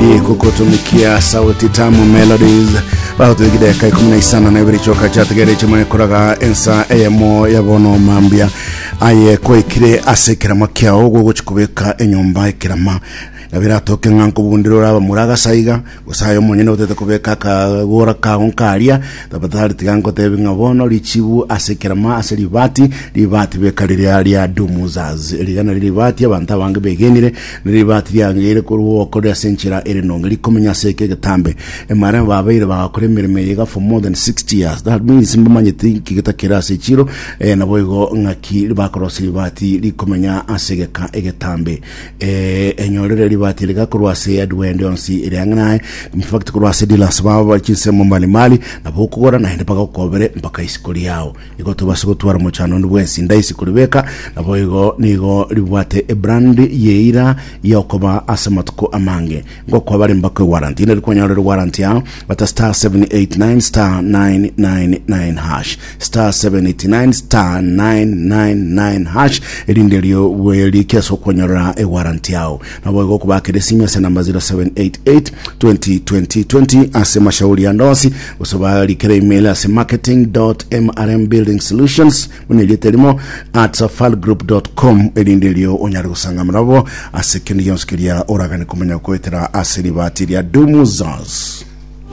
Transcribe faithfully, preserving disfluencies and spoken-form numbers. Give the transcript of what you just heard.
Bidii kukutumikia sauti tamu melodies bagotwigideka ikumi na isano na ibere choka chatigere chimwe koraga ensa eyemo yabono mambia aye koikire ase ekerama kiao gogochikobeka enyomba ekerama nabiratoke ng'a nkobundire oraba muragasaiga gose omonyene otete kobeka akagora kago nkaria tafadhali tiga nkotebi ng'a bono richibu ase ekerama ase ribati ribati beka riria ria dumuzaz rigana ribati abanto abange begenire ribati riangeire korwa okore ase enchera ere nonge rikomenya ase eke egetambe emara babeire bagakora emeremo eye iga for more than sixty years. That means mbamanyete nki getakere ase echiro, eh, nabo igo ng'aki bakorosia ribati rikomenya ase egeka egetambe. Eh, enyorere ribati rigakorwa ase adwende onsi ere ang'e naye, in fact korwa ase dealers babo bari chinsemo mbalimbali nabo okogora naende bagokobere mpaka isiko riao. Igo tobase gotwara omochando onde bwensi ndaisi koribeka nabo igo nigo ribwate ebrand yeira yokoba ase amatuko amange ngokoa bare mpaka ewarranty inde rikwanyorera ewarranty yao bata star seven eight nine star nine nine nine hash star seven eight nine star nine nine nine hash erinde rio bwerike ase okwanyorera ewarranty yao nabo igo okobakera esimu ase namba zero seven eight eight twenty twenty twenty ase mashauri ande onsi gose barikere email ase marketing dot mrm building solutions buna erieta erimo at safalgroup dot com erinde erio onyare gosangamana nabo ase kende gionsi keria oragane komanya goetera ase ribati ria Dumuzas.